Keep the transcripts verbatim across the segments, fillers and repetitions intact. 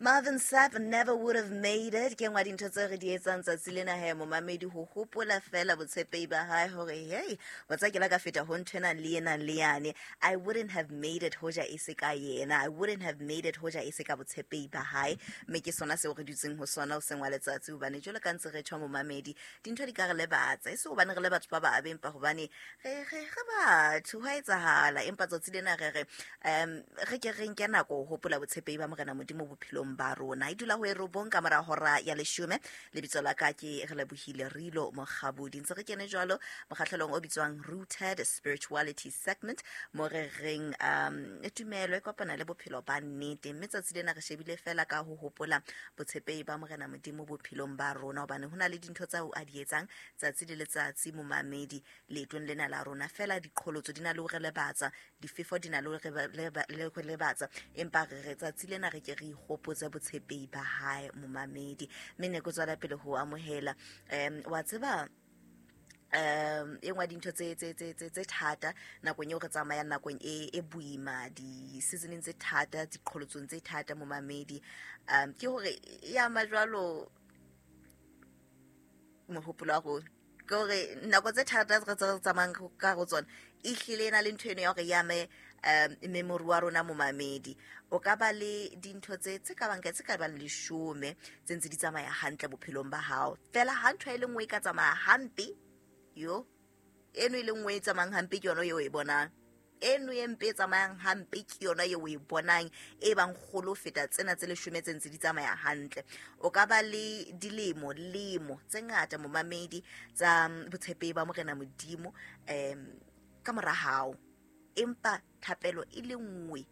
Marvin Sapp never would have made it. Ke nngwe ya dintho tseo re di etsang tsatsi lena he momamedi ho hopola fela botshepehi ba hae hore hey wa tseba ke la ka feta ho nthwena le ena le yane. I wouldn't have made it hoja e se ka yena. I wouldn't have made it hoja e se ka botshepehi ba hae. Mme ke sona seo re dutseng ho sona hoseng wa letsatsi hobane jwalo ka ntse re tjho momamedi dintho di ka re lebatsa. E se hobane re le batho ba babe empa hobane re re re batho ho a etsahala. Empa tsatsi lena re re um re ke re nke nako ho hopola botshepehi ba Morena Modimo bophelong ba rona. E dula ho e robong ka mora hora ya leshome. Lebitso la ka ke Relebohile Rilo Mokgabudi. Ntse re kene jwalo mokgahlelong o bitswang Rooted Spirituality Segment mo re reng um tumelo e kopana le bophelo ba nnete. Mme tsatsi lena re shebile fela ka ho hopola botshepehi ba Morena Modimo bophelong ba rona hobane ho na le dintho tseo a di etsang tsatsi le letsatsi momamedi leetong lena la rona. Fela diqholotso di na le ho re lebatsa, difefo di na le ho re lebatsa, empa re re tsatsi lena re ke re ikgopotse botshepehi ba hae momamedi. Mme ne ke tswela pele ho amohela um wa tseba um e nngwe ya dintho tse tse tse tse tse thata nakong eo re tsamayang nakong e e boima di-seasoneng tse thata diqholotsong tse thata momamedi um ke hore e ama jwalo mohopolo wa rona. Ke hore nako tse thata re tse re tsamayang ka ho tsona e hlile e na le ntho eno ya hore e ame um memory wa rona momamedi. O ka ba le dintho tse tse ka bang tse ka bang leshome tse ntse di tsamaya hantle bophelong ba hao. Fela ha ntho e le nngwe e ka tsamaya hampe yo eno e le nngwe e tsamayang hampe ke yona eo e bonang. Eno e mpe e tsamayang hampe ke yona eo e bonang e bang kgolo ho feta tsena tse leshome tse ntse di tsamaya hantle. O ka ba le dilemo lemo tse ngata momamedi tsa botshepehi ba Morena Modimo um ka mora hao. Empa thapelo e le nngwe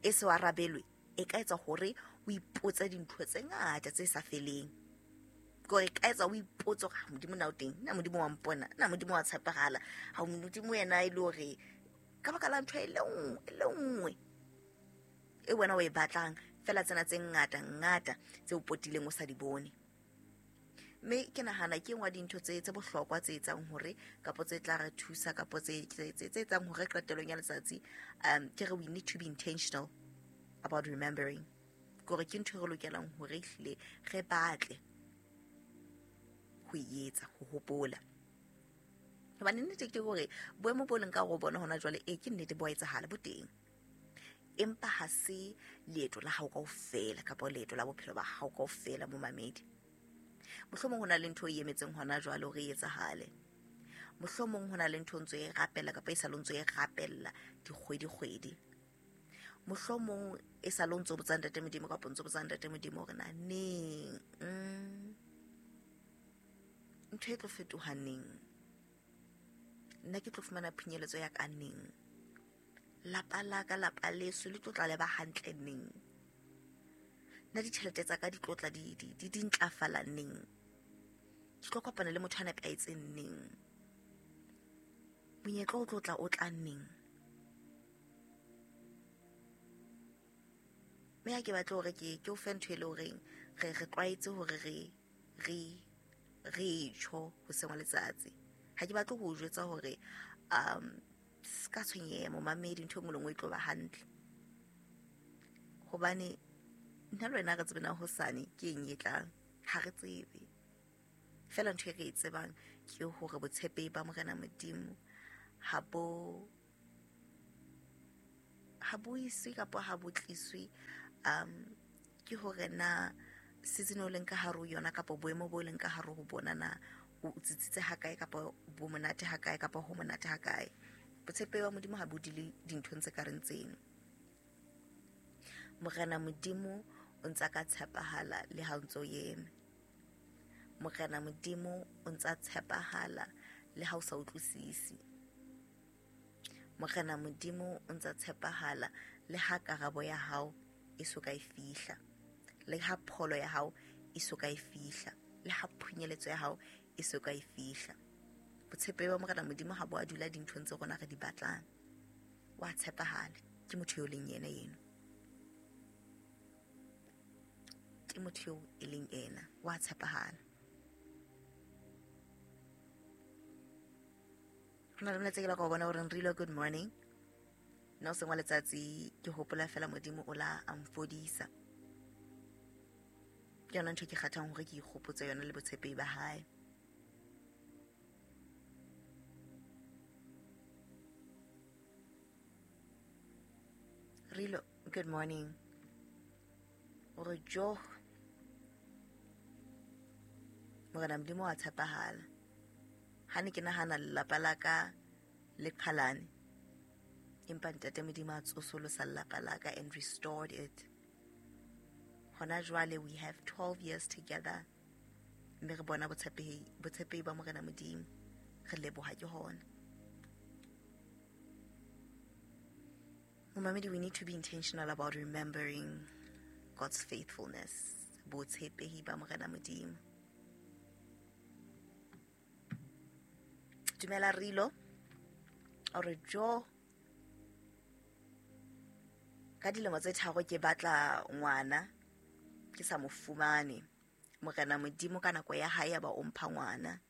e se arabelwe e ka etsa hore o ipotse dintho tse ngata tse sa feleng. Ke hore e ka etsa o ipotse hore Modimo na o teng, na Modimo wa mpona, na Modimo wa tshepahala, ha Modimo yena e le hore ka baka la ntho e le nngwe e le nngwe e wena o e batlang fela tsena tse ngata ngata tse o potileng o sa di bone. Mme ke nahana ke nngwe ya dintho tse tse bohlokwa tse etsang hore kapo tse tla re thusa kapo tse tse tse etsang hore qetellong ya letsatsi um ke re we need to be intentional about remembering. Ke hore ke ntho e re lokelang hore ehlile re batle ho e etsa, ho hopola. Hobane nnete ke hore boemo bo leng ka ho bona hona jwale e ke nnete bo a etsahala bo teng. Empa ha se leeto la hao kaofela kapa leeto la bophelo ba hao kaofela momamedi. Mohlomong ho na le ntho e emetseng hona jwale hore e etsahale. Mohlomong ho na le ntho ntso e rapella kapa e sa le ntso e rapella dikgwedi kgwedi. Mohlomong e sa le ntso botsa Ntate Modimo kapa ntso botsa Ntate Modimo hore na neng mm, ntho e tlo fetoha neng, nna ke tlo fumana phinyeletso ya ka neng, lapa la ka lapa leso le tlo tla le ba hantle neng, nna ditjhelete tsa ka di tlo tla di di di ntlafala neng, ke tlo kopana le motho a nepahetseng neng, monyetla o tlo tla o tla neng. Mme ha ke batle hore ke ke o fe ntho e le horeng re re tlwaetse hore re re re tjho hoseng wa letsatsi. Ha ke batle ho o jwetsa hore um se ka tshwenyeha momamedi ntho e nngwe le nngwe e tlo ba hantle. Hobane nna le wena re tsebe na hosane ke eng e tlang, ha re tsebe. Fela ntho e re e tsebang ke hore botshepehi ba Morena Modimo ha bo ha bo iswe kapa ha bo tliswe um ke hore na season o leng ka hare ho yona kapa boemo bo leng ka hare ho bona na o tsitsitse hakae kapa bo monate hakae kapa ho monate hakae. Botshepehi ba Modimo ha bo dule dinthong tse ka reng tseno. Morena Modimo o ntsa ka tshepahala le ha o ntso eme. Morena Modimo o ntsa tshepahala le ha o sa utlwisisi. Morena Modimo o ntsa tshepahala le ha karabo ya hao e so ka e fihla, le ha pholo ya hao e so ka e fihla, le ha phunyeletso ya hao e so ka e fihla. Botshepehi ba Morena Modimo ha bo a dula dinthong tse rona re di batlang. Wa tshepahala, ke motho eo leng yena eno. Ke motho eo e leng ena, wa tshepahala. Ho na le molaetsa ke la ka ho bona hore Nrilo good morning. Nna hoseng wa letsatsi ke hopola fela Modimo o la a mfodisa. Ke yona ntho e ke kgathang hore ke ikgopotse yona le botshepehi ba hae. Rilo, good morning. Ore jo, Morena Modimo wa tshepahala. Ha ne ke nahana lelapa la ka le qhalane, empa Ntate Modimo a tsosolosa lelapa la ka and restored it. Hona jwale we have twelve years together. Mme re bona botshepehi, botshepehi ba Morena Modimo. Re leboha ke hona. Momamedi, we need to be intentional about remembering God's faithfulness. Botshepehi ba Morena Modimo. Dumela Rilo. Ore jo, ka dilemo tse tharo ke batla ngwana, ke sa mo fumane. Morena Modimo ka nako ya hae ya ba o mpha ngwana.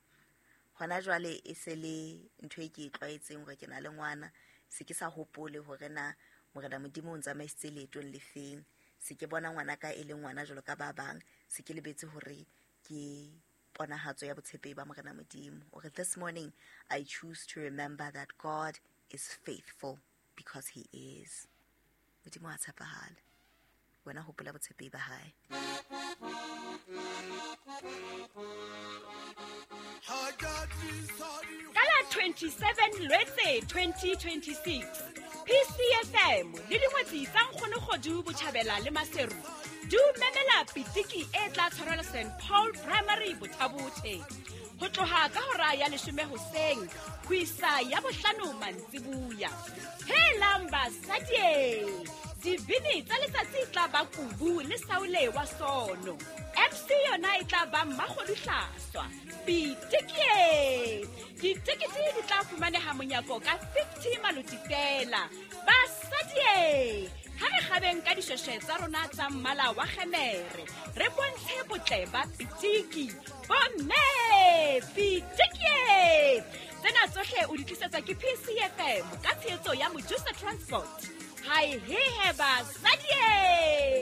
Hona jwale e se le ntho e ke e tlwaetseng hore ke na le ngwana. Se ke sa hopole hore na Morena Modimo o ntsamaisitse leetong le feng. Se ke bona ngwana ka e le ngwana jwalo ka ba bang. Se ke lebetse hore ke ponahatso ya botshepehi ba Morena Modimo. Hore this morning I choose to remember that God is faithful because he is. Modimo a tshepahala. Wena hopola botshepehi ba hae. Ka la twenty-seven Lwetse twenty twenty-six, P C F M le dingwetsi tsa Nkgono Kgodu Botjhabela le Maseru di o memela pitiki e tla tshwarelwa Saint Paul Primary Bothabothe ho tloha ka hora ya leshome hoseng ho isa ya bohlano mantsibuya. Helang basadi, dibini tsa letsatsi tla ba Kubu le Saule wa Sono. M C yona e tla ba Mmakgodu Hlaswa. Pitiki! Ditekete di tla fumaneha monyako ka fifty maloti fela. Basadi, ha re kgabeng ka dishweshwe tsa rona tsa mmala wa kgemere, re bontshe botle ba pitiki. Bomme, pitiki! Tsena tsohle o di tlisetswa ke P C F M ka tshehetso ya Mojusa Transport. Hai he he basadi!